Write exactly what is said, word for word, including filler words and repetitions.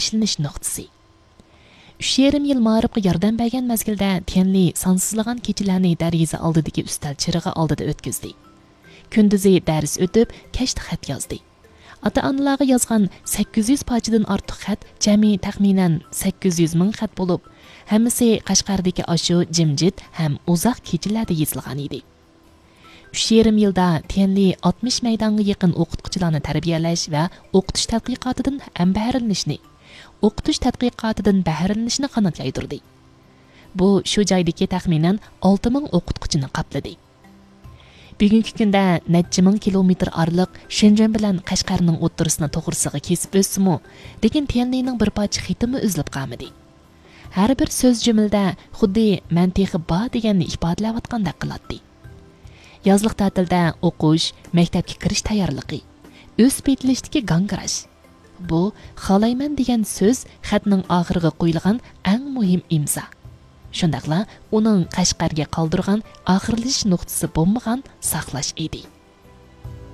ئىشلىنىش نۇقتىسى. ئۈچ يېرىم يىل مائارىپقا ياردەم بەرگەن مەزگىلدە تيەنلى سانسىزلىغان كېچىلەرنى دەرىزە ئالدىدىكى ئۈستەل چىرىغى ئالدىدا ئۆتكۈزدى. كۈندۈزى دەرس ئۆتۈپ، كەچتە خەت يازدى. ئاتا-ئانىلارغا يازغان سەككىز يۈز پارچىدىن ئارتۇق خەت جەمئىي تەخمىنەن سەككىز يۈز مىڭ خەت بولۇپ، ھەممىسى قەشقەردىكى ئاشۇ جىمجىت ھەم ئۇزاق كېچىلەردە يېزىلغان ئىدى. ئۈچ يېرىم يىلدا تيەنلى ئاتمىش مەيدانغا يېقىن ئوقۇتقۇچىلارنى تەربىيەلەش ۋە ئوقۇتۇش تەتقىقاتىدىن ھەم بەھرىلىنىشنى، ئوقۇتۇش تەتقىقاتىدىن بەھرىلىنىشنى قانات يايدۇردى. بۇ شۇ جايدىكى تەخمىنەن ئالتە مىڭ ئوقۇتقۇچىنى قاپلىدى. بۈگۈنكى كۈندە نەچچە مىڭ كىلومېتىر ئارىلىق شېنجېن بىلەن قەشقەرنىڭ ئوتتۇرىسىنى توغرىسىغا كېسىپ ئۆتسىمۇ، لېكىن تيەنلىنىڭ بىر پارچە خېتىمۇ ئۈزۈلۈپ قالمىدى. ھەر بىر سۆز جۈملىدە خۇددى مەن تېخى بار دېگەننى ئىپادىلەۋاتقاندەك قىلاتتى. يازلىق تەتىلدە ئوقۇش، مەكتەپكە كىرىش تەييارلىقى، ئۆسۈپ يېتىلىشتىكى گاڭگىراش. بۇ خالايمەن دېگەن سۆز خەتنىڭ ئاخىرىغا قويۇلغان ئەڭ مۇھىم ئىمزا. شۇنداقلا ئۇنىڭ قەشقەرگە قالدۇرغان ئاخىرلىشىش نۇقتىسى بولمىغان ساقلاش ئىدى.